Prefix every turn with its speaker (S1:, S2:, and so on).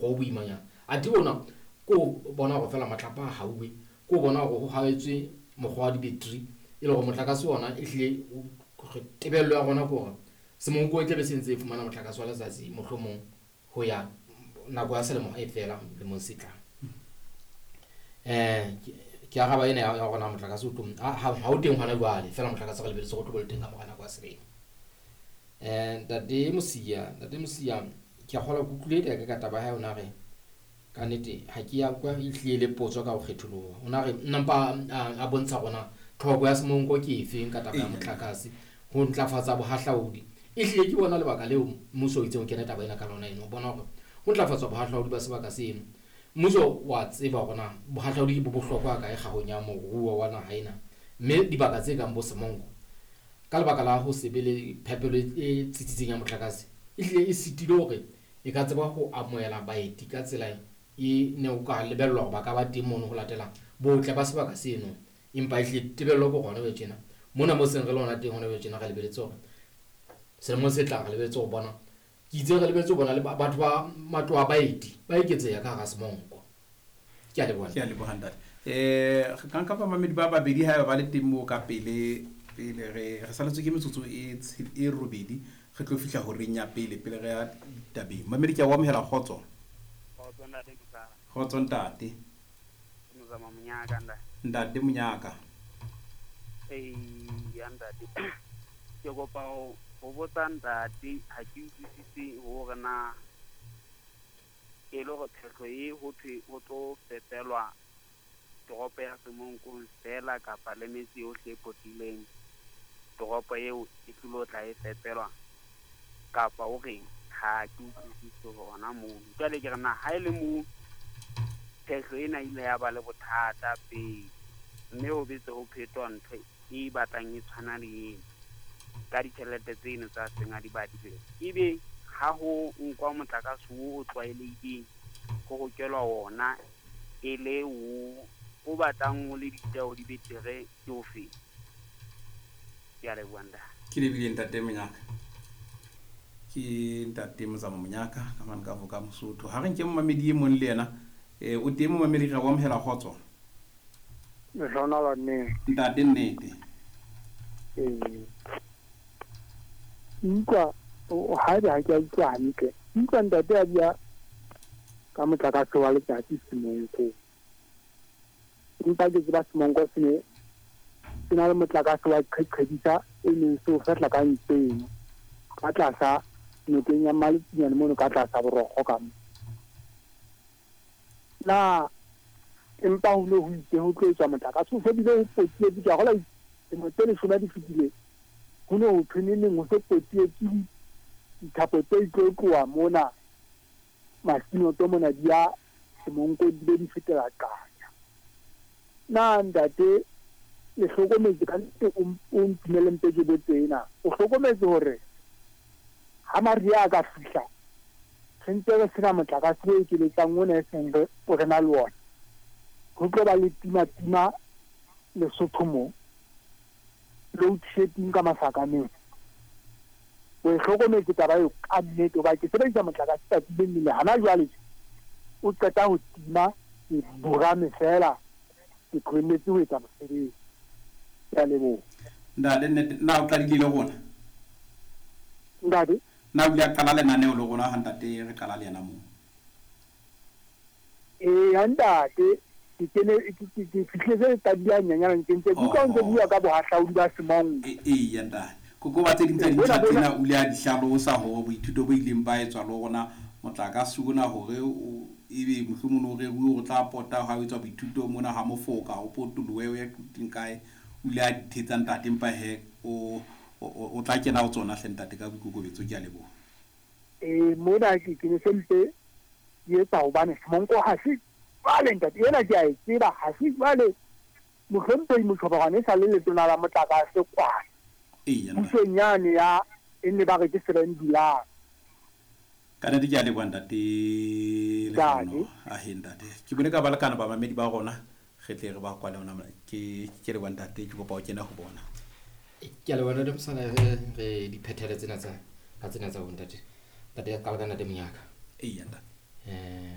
S1: O boimanyana. Athe ona ke o bona hore feela matlapa a hauwe, ke o bona hore ho haetswe mokgwa wa di-battery e le hore motlakase ona ehlile tebello ya rona ke hore Semonko e tlabe se ntse e fumana motlakase wa letsatsi mohlomong ho ya nako ya selemo e fela lemong se tlang. Ke araba ena ya rona motlakase o tlo ha o teng hona jwale feela motlakase re lebelletse hore o tlo be le teng ka mora nako ya selemo. Ntate Mosia, ntate Mosia ke a kgolwa ke utlwile eka ka taba ya hae o na re ka nnete ha ke ya kwa e hlile le potso ka ho kgetholoha. O na re nna mpa a bontsha rona tlhoko ya Semonko ke efeng ka taba ya motlakase ho ntlafatsa bohahlaudi. E hlile ke bona lebaka leo mmuso o itseng o kene taba ena ka lona eno, o bona hore ho ntlafatswa bohahlaudi ba sebaka seno. Mmuso wa tseba hore na bohahlaudi bo bohlokwa kae kgahong ya moruo wa naha ena, mme dibaka tse kang bo Semonko ka lebaka la ho se be le phepelo e tsitsitseng ya motlakase e hlile e sitile hore e ka tseba ho amohela baeti ka tsela e ne o ka lebellwa hore ba ka ba teng mono ho latela botle ba sebaka seno. Empa ehlile tebello ke hona jwale tjena mona mo seng re le hona teng hona jwale tjena re lebeletse hore selemong se tlang re lebeletse ho bona, ke itse re lebeletse ho bona le batho ba matlo a baeti ba eketseha ka hara Semonko. Ke a leboha.
S2: Ke a leboha ntate. Re ka nka bamamedi ba babedi haeba ba le teng moo ka pele pele re re saletswe ke metsotso e e robedi re tlo fihla horeng ya pele pele re ya ditabeng. Mamedi ke a o amohela kgotso.
S3: Kgotso ntate Mosala.
S2: Kgotso ntate.
S3: Ke Mozama Monyaka ntate.
S2: Ntate Monyaka.
S3: Eya ntate. Ke kopa ho botsa ntate ha ke utlwisise hore na e le hore phehlo e ho thwe ho tlo fepelwa toropo ya Semonkong feela kapa le metse yohle e potileng toropo eo e tlilo tla e fepelwa kapa o reng, ha ke utlwisise hona moo. Jwale ke re na ha e le moo phehlo ena ile ya ba le bothata pele mme ho betse ho phetwa ntho e batlang e tshwana le ena ka ditjhelete tseno tsa seng a di badile, ebe ha ho nkwa motlakase o o tlwaelehileng ho hokelwa ona e le o o batlang o le ditjeho di betere ke ofe? Ke a leboha ntate.
S2: Ke lebile ntate Monyaka. Ke ntate Mozamo Monyaka ka mane ka Voka Mosotho. Ha re nke momamedi e mong le yena. O teng momamedi, re o amohela kgotso.
S4: Lehlohonolo nnete.
S2: Ntate nnete.
S4: Ee. Ke utlwa haebe ha ke a utlwa hantle. Ke utlwa ntate a bua ka motlakase wa letsatsi Semonkong. Empa ke tseba Semonko se ne se na le motlakase wa qheqhedisa e neng se o fehla ka ntseno ka tlasa nokeng ya Maletsinyane mono ka tlasa borokgo ka mo. Na empa ho ne ho itse ho tlo etswa motlakase o se bile ho potietse ke a gola dilemo tse leshome di fetile ho ne ho thwe neneng ho se potietse dithapo tse tlo tloha mona Masinoto mona di ya Semonkong di be di fetela Qanya. Na ntate le hlokometse ka nnete o ntumelle mpe ke botse ena, o hlokometse hore ha mariha a ka fihla re ntse re sena motlakase o ekeletsang ona e seng re re na le ona, ho tlo ba le tima-tima Lesotho mo, load shedding ka masakaneng. O e hlokometse taba eo ka nnete hoba ke sebedisa motlakase tsatsi le leng le hana jwale tje o qeta ho tima ke burame feela ke tlohelletse ho etsa mosebetsi. Ke a leboha.
S2: Ntate nnete na o qadile le rona?
S4: Ntate?
S2: Na o ile a qala lenaneo le rona ha ntate re qala le yena moo?
S4: Eya ntate, ke kene ke ke ke fihlile se qadile hanyenyane ke ntse ke utlwa o ntse bua ka bohahlaudi ba Semonko.
S2: Eya ntate. Kokoba tse ding tsa
S4: Ee, bona
S2: dintlha
S4: bona
S2: tsena o ile a di hlalosa hore boithuto bo ileng ba etswa le rona motlakase ona hore o ebe mohlomong o reruwe hore o tla pota ha o etswa boithuto mona ha mofoka o potolohe o ye Quthing kae. O ile a di thetsa ntate empa he o o tla kena ho tsona hle ntate ka boikokobetso ke a leboha.
S4: Ee, mona ke ke ne se mpe ke etsa hobane Semonko ha se jwale ntate ena ke a e tseba ha se jwale mohlomphehi Mochoboroane e sa le letona la motlakase kwana
S2: Eya ntate.
S4: pusong yane ya e ne ba re ke seven July.
S2: Ka nnete ke a leboha ntate
S4: Ntate.
S2: Lehlohono. Ahe ntate. Ke bone ka balekana bamamedi ba rona re tle re ba kwale hona mona. Ke ke leboha ntate ke kopa o kene ho bona.
S1: Ke a leboha ntate Mosana re re di phethele tsena tsa ka tsena tsa bo ntate. Ntate qala ka ntate Monyaka.
S2: Eya ntate.
S1: Eh